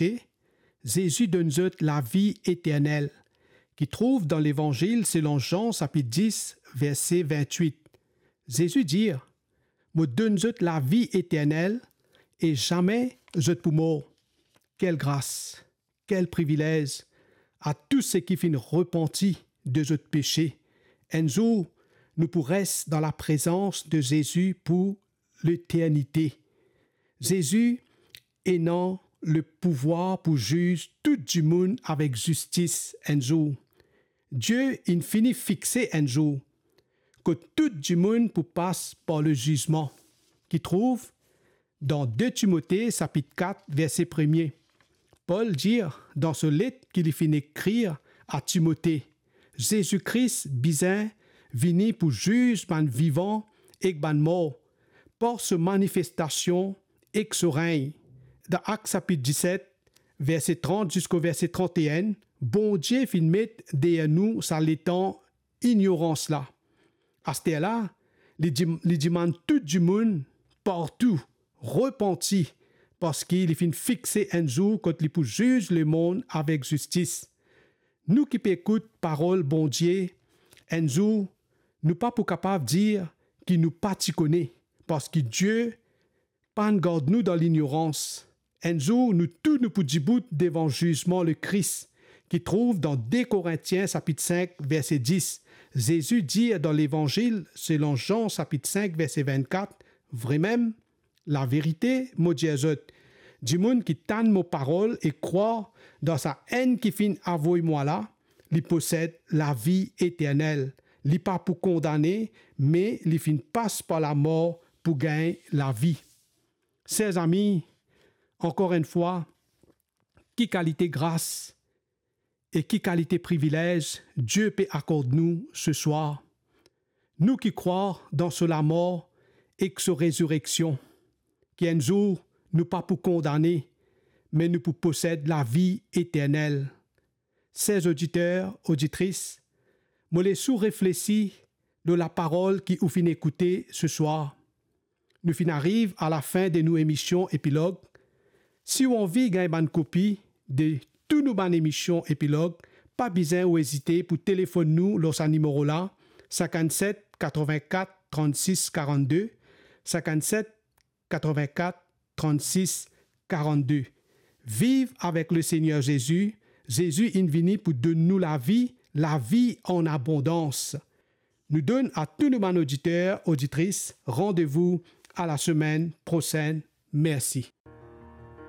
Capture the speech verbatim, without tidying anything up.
aksepte, Zezi donn zot lavi eternel, ki trouv dan Levanzil selon Zan sapit dis, verse vintwit. Zezi dir, "Mo donn zot lavi eternel e zame zot pou mor." Kel gras, kel privilez a tou seki finn repanti de zot pese. Enn zour, nou pou res dan laprezans de Zezi pou leternite. Zezi ena lepouvwar pou ziz tou dimoun avek zistis enn zour. Die inn fini fixe enn zour kot tou dimoun pou pas par lezizman, ki trouv dan de Timote sapit kat, verse premie. Pol dir dan so let ki li finn ekrir a Timote, Zezi Kris bizin vini pou ziz bann vivan ek bann mor par so manifestasion ek so regn. Dan Ak sapit diset, verse trant ziska verse trant-e-enn, Bondie finn met deryer nou sa letan ignorans la. Asterla, li dim-, li dimann tou dimoun partou repanti, parski li finn fixe enn zour kot li pou ziz lemond avek zistis. Nou ki pe ekout parol Bondie, enn zour, nou pa pou kapav dir ki nou pa ti kone, parski Die pa'nn gard nou dan lignorans. Enn zour, nou tou nou pou dibout devan zizman Lekris, ki trouv dan de Korintien sapit sink, verse dis. Zezi dir dan Levanzil selon Zan sapit sink, verse vintkat, "Vremem, laverite, mo dir zot, dimoun ki tann mo parol e krwar dan Sa-Enn ki finn avoy mwa la, li posed lavi eternel. Li pa pou kondane, me li finn pas par lamor pou gagn lavi." Ser zami, ankor enn fwa, ki kalite gras e ki kalite privilez Die pe akord nou seswar. Nou ki krwar dan so lamor ek so rezireksion, ki enn zour nou pa pou kondane, me nou pou posed lavi eternel. Ser oditer, oditris, mo les ou reflesi lor laparol ki ou finn ekoute seswar. Nou finn ariv a lafin de nou emision Epilog. Si ou anvi gagn bann kopi de tou nou bann emision Epilog, pa bizin ou ezite pou telefonn nou lor sa nimero la, sinkannset katrovin-kat trannsis karannde, sinkannset katrovin-kat trannsis karannde. Viv avek Lesegner Zezi. Zezi inn vini pou donn nou lavi, lavi an abondans. Nou donn a tou nou bann oditer, oditris, randevou a lasemenn prosenn. Mersi.